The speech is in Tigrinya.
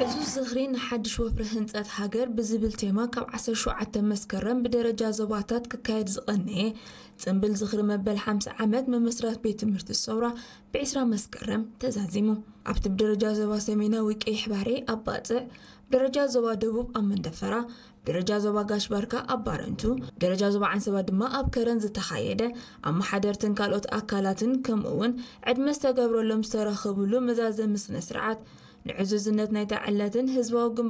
ዕዙዝ ዝኽሪ ንሓድሽ ወፍሪ ህንጸት ሃገር ብዝብል ቴማ ካብ ዓሰርተ ሸውዓተ መስከረም ብደረጃ ዞባታት ክካየድ ዝቐነየ ጽንብል ዝኽሪ መበል ሓምሳ ዓመት መመስረት ቤት ትምህርቲ ሰውራ ብ20 መስከረም ተዛዚሙ። ኣብቲ ብደረጃ ዞባ ሰሜናዊ ቀይሕ ባሕሪ ኣብ ባጽዕ፣ ብደረጃ ዞባ ደቡብ ኣብ መንደፈራ፣ ብደረጃ ዞባ ጋሽ ባርካ ኣብ ባረንቱ፣ ብደረጃ ዞባ ዓንሰባ ድማ ኣብ ከረን ዝተኻየደ፣ ኣመሓደርትን ካልኦት ኣካላትን ከምኡ እውን ዕድመ ዝተገብረሎም ዝተረኸብሉ መዛዘሚ ስነ ስርዓት ንዕዙዝነት ናይታ ዕለትን ህዝባዊ ግንባር